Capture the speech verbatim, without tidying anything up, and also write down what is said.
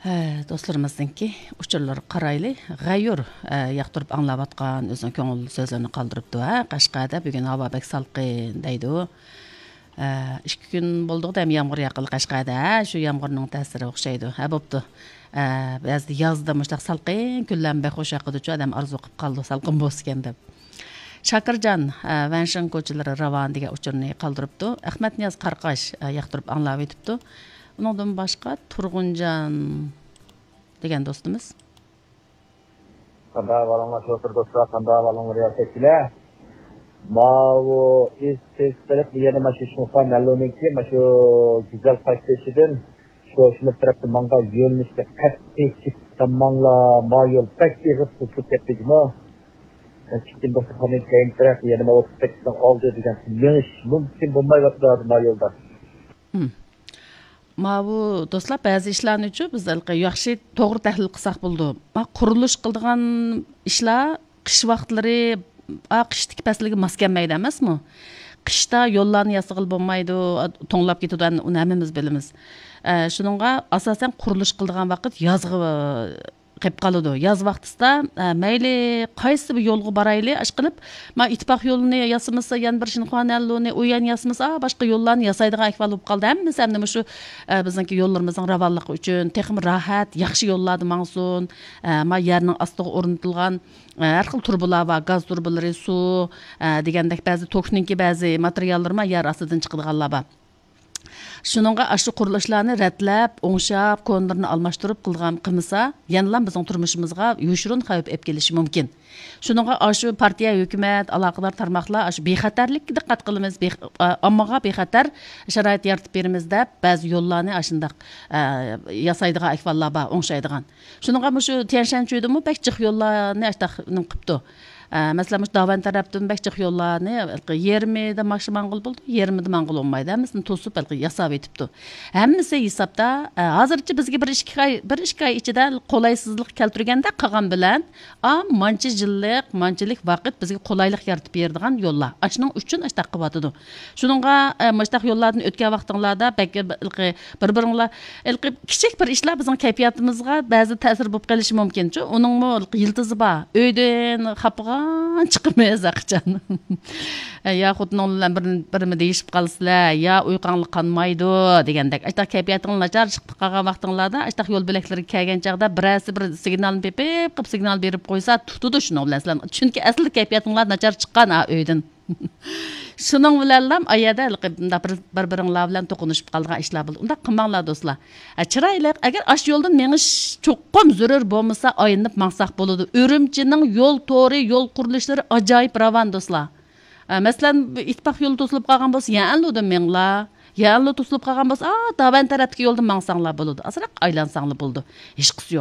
ئە، دوستلىرىمىزنىڭكى ئۇچۇرلىرىغا قارايلى. غەيۇر، ئە، ياقتۇرۇپ ئاڭلاۋاتقان، ئۆزىنىڭ كۆڭۈل سۆزلىرىنى قالدۇرۇپتۇ. ھە، قەشقەردە بۈگۈن ھاۋا بەك سالقىن دەيدۇ. ئە، ئىككى كۈن بولدىغۇ دەم يامغۇر ياققىلى قەشقەردە. ھە، شۇ يامغۇرنىڭ تەسىرى ئوخشايدۇ. ھە، بوپتۇ. ئە، بەزىدە يازدا مۇشۇنداق سالقىن كۈنلەرمۇ بەك خۇش ياقىدۇچۇ، ئادەم ئارزۇ قىلىپ قالىدۇ، سالقىن بولسىكەن دەپ. شاكىرجان، ئە، ۋەنشىڭ كوچىلىرى راۋان دېگەن ئۇچۇرنى قالدۇرۇپتۇ. ئەخمەتنىياز قارقاش، ئە، ياقتۇرۇپ ئاڭلاۋېتىپتۇ. ئۇنىڭدىن باشقا تۇرغۇنجان دېگەن دوستىمىز. قانداق ئەھۋالىڭلار شوپۇر دوستلار، قانداق ئەھۋالىڭلار رىياسەتچىلەر؟ ماۋۇ ئىس تېز قىلىپ يەنە ماشىنا شۇڭخۇا نەللۇنىڭكى ماشۇ گۈزەل قايتىشىدىن شوشىمىز تەرەپتە ماڭغان يۆنىلىشكە قەتئىي چىقساماڭلار، ما يول بەك ئېغىر توسۇلۇپ كەتتى جۇمۇ. ئىككىنچى دوختۇرخانىنىڭ كەينى تەرەپ يەنە ماۋۇ سەككىزنىڭ ئالدى دېگەن مېڭىش مۇمكىن بولمايۋاتىدۇ ھازىر ما يولدا. مم. ماۋۇ دوستلار، بەزى ئىشلارنىچۇ بىز ھېلىقى ياخشى توغرا تەھلىل قىلساق بولىدۇ. ما قۇرۇلۇش قىلىدىغان ئىشلار قىش ۋاقىتلىرى، ئا، قىشتىكى پەسىلگە ماس كەلمەيدۇ ئەمەسمۇ؟ قىشتا يوللارنى ياسىغىلى بولمايدۇ، ئا، توڭلاپ كېتىدۇ، ئەمدى ئۇنى ھەممىمىز بىلىمىز. ئە، شۇنىڭغا ئاساسەن قۇرۇلۇش قىلىدىغان ۋاقىت يازغا قېلىپ قالىدۇ. ياز ۋاقتىسىدا، ئە، مەيلى قايسى بىر يولغا بارايلى، ئاشقىلىپ، ما ئىتتىپاق يولىنى ياسىمىسا، يەنە بىر شىنخۇا نەنلۇنى، ئۇيەن ياسىمىسا، ئا، باشقا يوللارنى ياسايدىغان ئەھۋال بولۇپ قالدى. ھەممىسى ئەمدى مۇشۇ، ئە، بىزنىڭكى يوللىرىمىزنىڭ راۋانلىقى ئۈچۈن، تېخىمۇ راھەت، ياخشى يوللاردا ماڭسۇن. ئە، ما يەرنىڭ ئاستىغا ئورنىتىلغان، ئە، ھەر خىل تۇرۇبىلار بار، گاز تۇرۇبىلىرى، سۇ، ئە، دېگەندەك بەزى توكنىڭكى بەزى ماتېرىياللىرى ما يەر ئاستىدىن چىقىدىغانلار بار. شۇنىڭغا ئاشۇ قۇرۇلۇشلارنى رەتلەپ، ئوڭشاپ، كونىلىرىنى ئالماشتۇرۇپ قىلغان، قىلمىسا، يەنىلا بىزنىڭ تۇرمۇشىمىزغا يوشۇرۇن خەۋپ ئېلىپ كېلىشى مۇمكىن. شۇنىڭغا ئاشۇ پارتىيە، ھۆكۈمەت، ئالاقىدار تارماقلار ئاشۇ بىخەتەرلىككە دىققەت قىلىمىز، بىخ-، ئا، ئاممىغا بىخەتەر شارائىت يارىتىپ بېرىمىز دەپ، بەزى يوللارنى ئاشۇنداق، ئە، ياسايدىغان ئەھۋاللار بار، ئوڭشايدىغان. شۇنىڭغا مۇشۇ تيەنشەنچۈدىمۇ بەك جىق يوللارنى ئاشۇنداق نېمە قىپتۇ. ئە، مەسىلەن، مۇشۇ داۋەن تەرەپتىن بەك جىق يوللارنى يېرىمىدا ماخشى ماڭغىلى بولىدۇ، يېرىمىدا ماڭغىلى بولمايدۇ. ھەممىسىنى توسۇپ، ھېلىقى ياساۋېتىپتۇ. ھەممىسى ھېسابتا، ئە، ھازىرچە بىزگە بىر ئىككى ئاي، بىر ئىككى ئاي ئىچىدە قولايسىزلىق كەلتۈرگەندە قالغان بىلەن، ئا، مانچە يىللىق، مانچىلىك ۋاقىت بىزگە قولايلىق يارىتىپ بېرىدىغان يوللار. ئاشۇنىڭ ئۈچۈن ئاشتاق قىلىۋاتىدۇ. شۇنىڭغا، ئە، مۇشتاق يوللاردىن ئۆتكەن ۋاقتىڭلاردا بەك، ھېلىقى بىر-بىرىڭلار، ھېلىقى كىچىك بىر ئىشلار بىزنىڭ كەيپىياتىمىزغا بەزى تەسىر بولۇپ قېلىشى مۇمكىنچۇ. ئۇنىڭمۇ ھېلىقى يىلتىزى بار. ئۆيدىن خاپىغان چىقىمىز ھەرقاچان. يا خوتۇنۇڭ بىلەن بىر، بىرمۇ دېيىشىپ قالىسىلەر، يا ئۇيقۇڭلار قانمايدۇ دېگەندەك. ئاشتاق كەيپىياتىڭ ناچار چىقىپ قالغان ۋاقتىڭلاردا، ئاشتاق يول بۆلەكلىرىگە كەلگەن چاغدا بىرەرسى بىر سىگنالنى پېپىپ قىلىپ سىگنال بېرىپ قويسا، تۇتىدۇ شۇنىڭ بىلەن سىلەرنى. چۈنكى ئەسلى كەيپىياتىڭلار ناچار چىققان ھا ئۆيدىن. شۇنىڭ بىلەنلا ئايەدە ھېلىقى مۇنداق بىر، بىر-بىرىڭلار بىلەن توقۇنۇشۇپ قالىدىغان ئىشلار بولىدۇ. ئۇنداق قىلماڭلار دوستلار. ھە، چىرايلىق. ئەگەر ئاشۇ يولدىن مېڭىش چوقۇم زۆرۈر بولمىسا، ئايلىنىپ ماڭساق بولىدۇ. ئۈرۈمچىنىڭ يول تورى، يول قۇرۇلۇشلىرى ئاجايىپ راۋان دوستلار. ھە، مەسىلەن، ئىتتىپاق يولى توسۇلۇپ قالغان بولسا، يەنلۇدىن مېڭىڭلار. يەنلۇ توسۇلۇپ قالغان بولسا، ئا، داۋەن تەرەپتىكى يولدىن ماڭساڭلار بولىدۇ. ئازراق ئايلانساڭلار بولىدۇ. ھېچقىسى يوق.